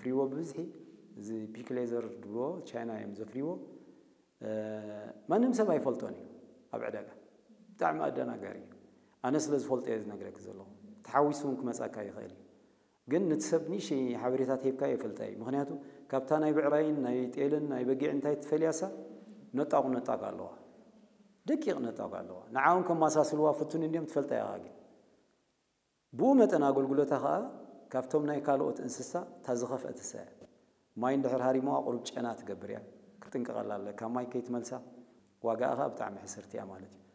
ይዎ ብብዝሒ እዚ ፒክ ሌዘር ድብልዎ ቻይና እዮም ዘፍርይዎ። ማንም ሰብ ኣይፈልጦን እዩ ኣብ ዕዳጋ። ብጣዕሚ ኣደናጋሪ እዩ። ኣነ ስለ ዝፈልጦ እየ ዝነግረክ ዘለኹ። ተሓዊሱ እውን ክመፃካ ይኽእል እዩ። ግን ነቲ ሰብ ንእሽተይ ሓበሬታ ተሂብካ የፈልጣ እዩ። ምክንያቱ ካብታ ናይ ብዕራይን ናይ ጤልን ናይ በጊዕ እንታይ ትፈልያሳ ነጣቑ ነጣቕ ኣለዋ። ደቂቕ ነጣቕ ኣለዋ። ንዓውን ከማሳስልዋ ፍቱን እንዲዮም ትፈልጣ ኢኻ። ግን ብኡ መጠን ኣገልግሎታ ከዓ ካብቶም ናይ ካልኦት እንስሳ እታ ዝኸፍአት እሳ እያ። ማይ እንድሕር ሃሪሞዋ ቁሩብ ጨና ትገብር እያ። ክትጥንቀቐላ ኣለካ። ማይ ከይትመልሳ ዋጋኣ ከዓ ብጣዕሚ ሕስርቲ እያ ማለት እዩ።